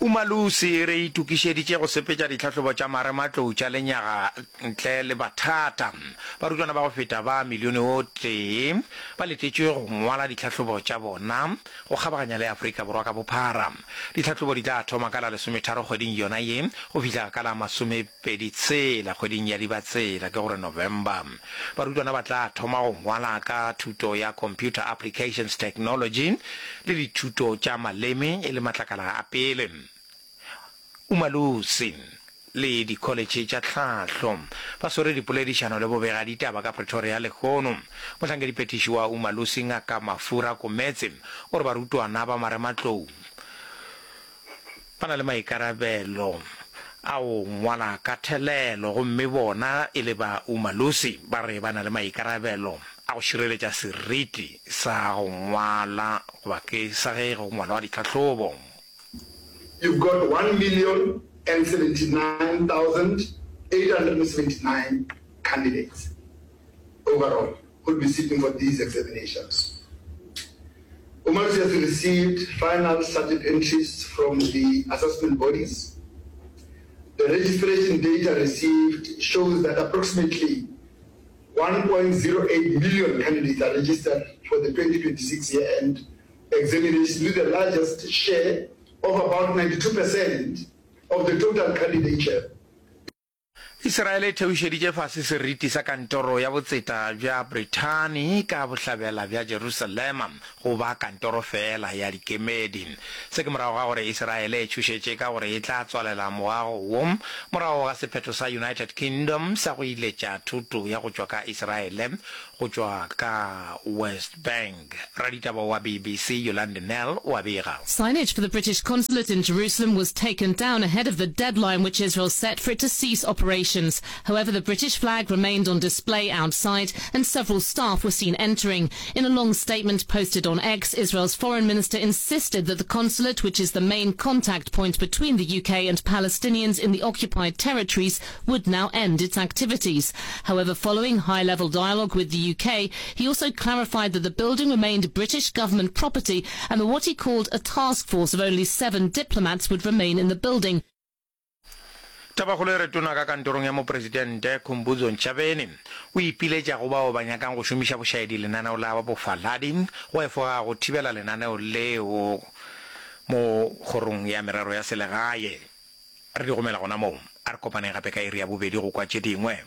Umalusi, Re itokišeditše go sepetša ditlhahlobo tša marematlou tša lenyaga ntle le bathata. Barutwana ba go feta ba milione o tee ba letetšwe go ngwala ditlhahlobo tša bona go kgabaganya le Afrika Borwa ka bophara. Ditlhahlobo di tla thoma ka la lesometharo kgweding yona ye go fihla ka la masomepedi tshela kgweding ya Dibatsela, ke gore November. Barutwana ba tla thoma go ngwala ka thuto ya Computer Applications Technology le dithuto tša maleme e le matlakala a pele. Umalusi le dikholetšhe tša tlhahlo ba swere dipoledišano le bobegaditaba ka Pretoria lehono. Mohlankediphethiši wa Umalusi Ngaka Mafura Kometse o re barutwana ba marematlou ba na le maikarabelo a go ngwala ka thelelo gomme bona e le ba Umalusi ba re ba na le maikarabelo a go šireletša seriti sa go ngwala goba ke sa ge go ngwalwa ditlhahlobo. You've got 1,079,879 candidates overall who'll be sitting for these examinations. Umalusi has received final subject entries from the assessment bodies. The registration data received shows that approximately 1.08 million candidates are registered for the 2026 year-end examinations, with the largest share of about 92% of the total candidature. Iseraele e theošeditše fase seriti sa kantoro ya botseta bja Brithani ka bohlabela bja Jerusalema go ba kantoro feela ya dikemedi. Se ke morago ga gore Iseraele e tšhošetše ka gore e tla tswalela moago wo morago ga sephetho sa United Kingdom sa go iletša thoto ya go tšwa ka Iseraele go tšwa ka West Bank. Raditaba wa BBC Yolande Nel o a bega. Signage for the British consulate in Jerusalem was taken down ahead of the deadline which Israel set for it to cease operations. However, the British flag remained on display outside and several staff were seen entering. In a long statement posted on X, Israel's foreign minister insisted that the consulate, which is the main contact point between the UK and Palestinians in the occupied territories, would now end its activities. However, following high-level dialogue with the UK, he also clarified that the building remained British government property and that what he called a task force of only seven diplomats would remain in the building. Tabakgolo e re tona ka kantorong ya mopresidente Khumbudzo Ntshavheni o ipiletša go bao ba nyakang go šomiša bošaedi lenaneo la bofaladi go efoga go thibela lenaneo leo mo kgorong ya merero ya selegae. Re di gomela gona moo. A re kopaneng gape ka iri ya bobedi go kwa tše dingwe.